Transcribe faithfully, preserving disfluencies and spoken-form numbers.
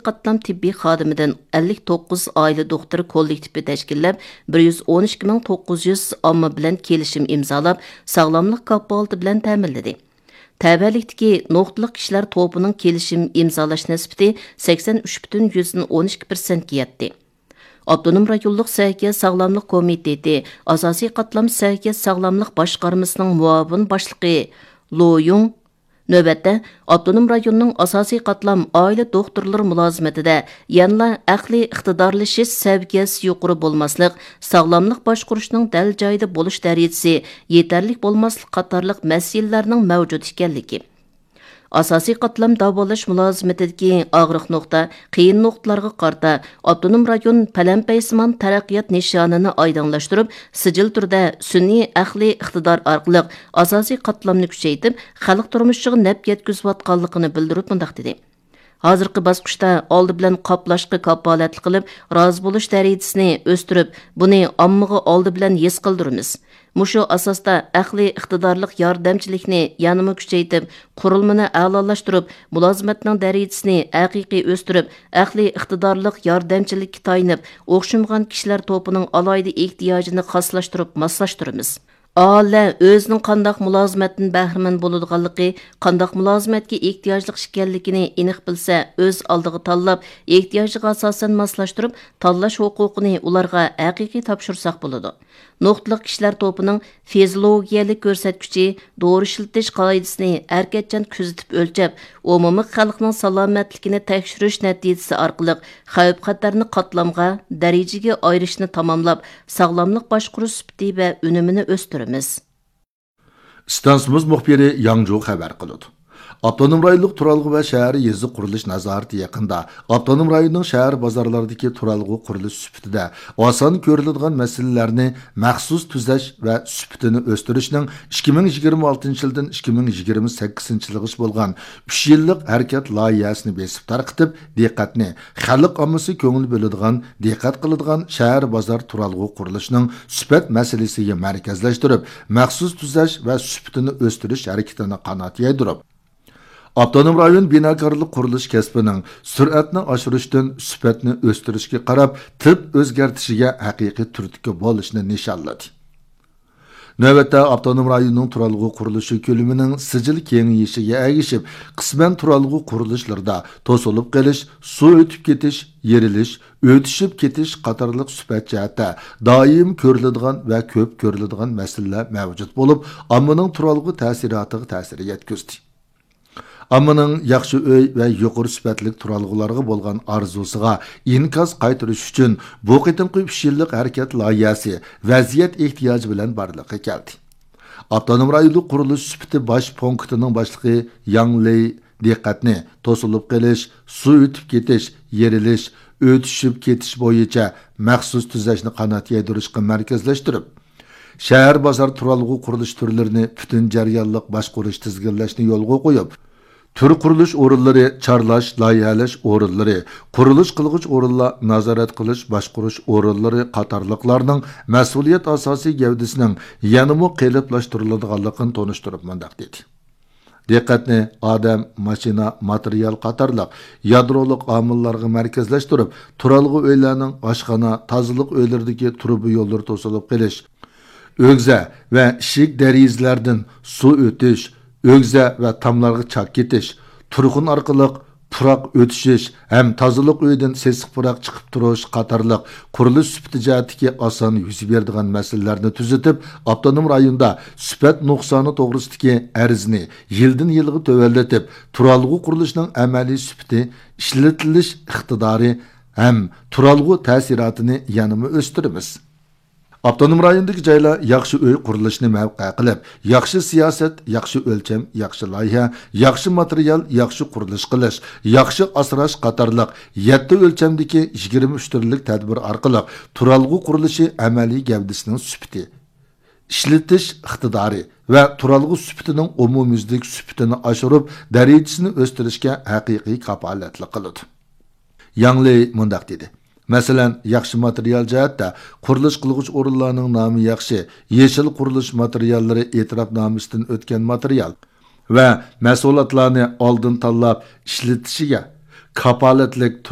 قاتلام تېببىي خادىمىدىن ئەللىك توققۇز ئائىلە دوختۇرى كوللېكتىپى تەشكىللەپ، بىر يۈز ئون ئىككى مىڭ توققۇز يۈز ئامما بىلەن كېلىشىم ئىمزالاپ، ساغلاملىق كاپالىتى بىلەن تەمىنلىدى. تەۋەلىكتىكى نۇقتىلىق كىشىلەر توپىنىڭ كېلىشىم ئىمزالاش نىسبىتى سەكسەن ئۈچ پۈتۈن يۈزدىن ئون ئىككى پىرسەنتكە يەتتى. ئاپتونوم رايونلۇق سەھىيە ساغلاملىق كومىتېتى ئاساسىي قاتلام سەھىيە ساغلاملىق باشقارمىسىنىڭ مۇئاۋىن باشلىقى لو يۇڭ نۆۋەتتە ئاپتونوم رايوننىڭ ئاساسىي قاتلام ئائىلە دوختۇرلىرى مۇلازىمىتىدە يەنىلا ئەقلىي ئىقتىدارلىشىش سەۋىيەسى يۇقىرى بولماسلىق، ساغلاملىق باشقۇرۇشنىڭ دەل جايىدا بولۇش دەرىجىسى يېتەرلىك بولماسلىق قاتارلىق مەسىلىلەرنىڭ مەۋجۇت ئىكەنلىكى، ئاساسىي قاتلام داۋالاش مۇلازىمىتىدىكى ئاغرىق نۇقتا، قىيىن نۇقتىلارغا قارىتا ئاپتونوم رايون پەلەمپەيسىمان تەرەققىيات نىشانىنى ئايدىڭلاشتۇرۇپ، سىجىل تۈردە سۈنئىي ئەقلىي ئىقتىدار ئارقىلىق ئاساسىي قاتلامنى كۈچەيتىپ، خەلق تۇرمۇشىغا نەپ يەتكۈزۈۋاتقانلىقىنى بىلدۈرۈپ مۇنداق دېدى: ھازىرقى باسقۇچتا ئالدى بىلەن قاپلاشقا كاپالەتلىك قىلىپ، رازى بولۇش دەرىجىسىنى ئۆستۈرۈپ، بۇنى ئاممىغا ئالدى بىلەن ھېس قىلدۇرىمىز. مۇشۇ ئاساستا ئەقلىي ئىقتىدارلىق ياردەمچىلىكنى يەنىمۇ كۈچەيتىپ، قۇرۇلمىنى ئەلالاشتۇرۇپ، مۇلازىمەتنىڭ دەرىجىسىنى ھەقىقىي ئۆستۈرۈپ، ئەقلىي ئىقتىدارلىق ياردەمچىلىككە تايىنىپ، ئوخشىمىغان كىشىلەر توپىنىڭ ئالاھىدە ئېھتىياجىنى خاسلاشتۇرۇپ ماسلاشتۇرىمىز. ئاھالىلەر ئۆزىنىڭ قانداق مۇلازىمەتتىن بەھرىمەن بولىدىغانلىقى، قانداق مۇلازىمەتكە ئېھتىياجلىق ئىكەنلىكىنى ئېنىق بىلسە، ئۆز ئالدىغا تاللاپ، ئېھتىياجىغا ئاساسەن ماسلاشتۇرۇپ، تاللاش ھوقۇقىنى ئۇلارغا ھەقىقىي تاپشۇرساق بولىدۇ. نۇقتىلىق كىشىلەر توپىنىڭ فىزىولوگىيەلىك كۆرسەتكۈچى، دورا ئىشلىتىش قائىدىسىنى ھەرىكەتچان كۆزىتىپ ئۆلچەپ، ئومۇمىي خەلقنىڭ سالامەتلىكىنى تەكشۈرۈش نەتىجىسى ئارقىلىق خەۋپ-خەتەرنى قاتلامغا، دەرىجىگە ئايرىشنى تاماملاپ، ساغلاملىق باشقۇرۇش سۈپىتى ۋە ئۈنۈمىنى ئۆستۈرىمىز. ئىستانسىمىز مۇخبىرى ياڭجۇ خەۋەر قىلىدۇ. ئاپتونوم رايونلۇق تۇرالغۇ ۋە شەھەر يېزا قۇرۇلۇش نازارىتى يېقىندا ئاپتونوم رايوننىڭ شەھەر بازارلىرىدىكى تۇرالغۇ قۇرۇلۇش سۈپىتىدە ئاسان كۆرۈلىدىغان مەسىلىلەرنى مەخسۇس تۈزەش ۋە سۈپىتىنى ئۆستۈرۈشنىڭ ئىككى مىڭ يىگىرمە ئالتىنچى يىلدىن ئىككى مىڭ يىگىرمە سەككىزىنچى يىلغىچە بولغان ئۈچ يىللىق ھەرىكەت لايىھەسىنى بېسىپ تارقىتىپ، دىققەتنى خەلق ئاممىسى كۆڭۈل بۆلىدىغان، دىققەت قىلىدىغان شەھەر بازار تۇرالغۇ قۇرۇلۇشىنىڭ سۈپەت مەسىلىسىگە مەركەزلەشتۈرۈپ، مەخسۇس تۈزەش ۋە سۈپىتىنى ئۆستۈرۈش ھەرىكىتىنى قانات يايدۇرۇپ، ئاپتونوم رايون بىناكارلىق قۇرۇلۇش كەسپىنىڭ سۈرئەتنى ئاشۇرۇشتىن سۈپەتنى ئۆستۈرۈشكە قاراپ تىپ ئۆزگەرتىشىگە ھەقىقىي تۈرتكە بولۇشنى نىشانلىدى. نۆۋەتتە ئاپتونوم رايوننىڭ تۇرالغۇ قۇرۇلۇشى كۆلىمىنىڭ سىجىل كېڭىيىشىگە ئەگىشىپ، قىسمەن تۇرالغۇ قۇرۇلۇشلىرىدا توسۇلۇپ قېلىش، سۇ ئۆتۈپ كېتىش، يېرىلىش، ئۆتۈشۈپ كېتىش قاتارلىق سۈپەت جەھەتتە دائىم كۆرۈلىدىغان ۋە كۆپ كۆرۈلىدىغان مەسىلىلەر مەۋجۇت بولۇپ، ئاممىنىڭ تۇرالغۇ تەسىراتىغا تەسىر يەتكۈزدى. ئاممىنىڭ ياخشى ئۆي ۋە يۇقىرى سۈپەتلىك تۇرالغۇلارغا بولغان ئارزۇسىغا ئىنكاس قايتۇرۇش ئۈچۈن بۇ قېتىمقى ئۈچ يىللىق ھەرىكەت لايىھەسى ۋەزىيەت ئېھتىياجى بىلەن بارلىققا كەلدى. ئاپتونوم رايونلۇق قۇرۇلۇش سۈپىتى باش پونكىتىنىڭ باشلىقى ياڭ لېي دىققەتنى توسۇلۇپ قېلىش، سۇ ئۆتۈپ كېتىش، يېرىلىش، ئۆتۈشۈپ كېتىش بويىچە مەخسۇس تۈزەشنى قانات يايدۇرۇشقا مەركەزلەشتۈرۈپ، شەھەر بازار تۇرالغۇ قۇرۇلۇش تۈرلىرىنى پۈتۈن جەريانلىق باشقۇرۇش تىزگىنلەشنى يولغا قويۇپ، تۈر قۇرۇلۇش ئورۇنلىرى، چارلاش، لايىھەلەش ئورۇنلىرى، قۇرۇلۇش قىلغۇچ ئورۇنلار، نازارەت قىلىش، باشقۇرۇش ئورۇنلىرى قاتارلىقلارنىڭ مەسئۇلىيەت ئاساسىي گەۋدىسىنىڭ يەنىمۇ قېلىپلاشتۇرۇلىدىغانلىقىنى تونۇشتۇرۇپ مۇنداق دېدى: دىققەتنى ئادەم، ماشىنا، ماتېرىيال قاتارلىق يادرولۇق ئامىللارغا مەركەزلەشتۈرۈپ، تۇرالغۇ ئۆيلەرنىڭ ئاشخانا، تازىلىق ئۆيلىرىدىكى تۇرۇبا يوللىرى توسۇلۇپ قېلىش، ئۆگزە ۋە ئىشىك دېرىزىلەردىن سۇ ئۆتۈش، ئۆگزە ۋە تاملارغا چاك كېتىش، تۇرخۇن ئارقىلىق پۇراق ئۆتۈشۈش ھەم تازىلىق ئۆيىدىن سېسىق پۇراق چىقىپ تۇرۇش قاتارلىق قۇرۇلۇش سۈپىتى جەھەتتىكى ئاسان يۈز بېرىدىغان مەسىلىلەرنى تۈزىتىپ، ئاپتونوم رايوندا سۈپەت نۇقسانى توغرىسىدىكى ئەرزنى يىلدىن يىلغا تۆۋەنلىتىپ، تۇرالغۇ قۇرۇلۇشىنىڭ ئەمەلىي سۈپىتى، ئىشلىتىلىش ئىقتىدارى ھەم تۇرالغۇ تەسىراتىنى يەنىمۇ ئۆستۈرىمىز. ئاپتونوم رايوندىكى جايلار ياخشى ئۆي قۇرۇلۇشىنى مەۋقە قىلىپ، ياخشى سىياسەت، ياخشى ئۆلچەم، ياخشى لايىھە، ياخشى ماتېرىيال، ياخشى قۇرۇلۇش قىلىش، ياخشى ئاسراش قاتارلىق يەتتە ئۆلچەمدىكى يىگىرمە ئۈچ تۈرلۈك تەدبىر ئارقىلىق تۇرالغۇ قۇرۇلۇشى ئەمەلىي گەۋدىسىنىڭ سۈپىتى، ئىشلىتىش ئىقتىدارى ۋە تۇرالغۇ سۈپىتىنىڭ ئومۇميۈزلۈك سۈپىتىنى ئاشۇرۇپ، دەرىجىسىنى ئۆستۈرۈشكە ھەقىقىي كاپالەتلىك قىلىدۇ. ياڭ لېي مۇنداق دېدى: مەسىلەن، ياخشى ماتېرىيال جەھەتتە قۇرۇلۇش قىلغۇچ ئورۇنلارنىڭ نامى ياخشى، يېشىل قۇرۇلۇش ماتېرىياللىرى ئېتىراپنامىسىدىن ئۆتكەن ماتېرىيال ۋە مەھسۇلاتلارنى ئالدىن تاللاپ ئىشلىتىشىگە، كاپالەتلىك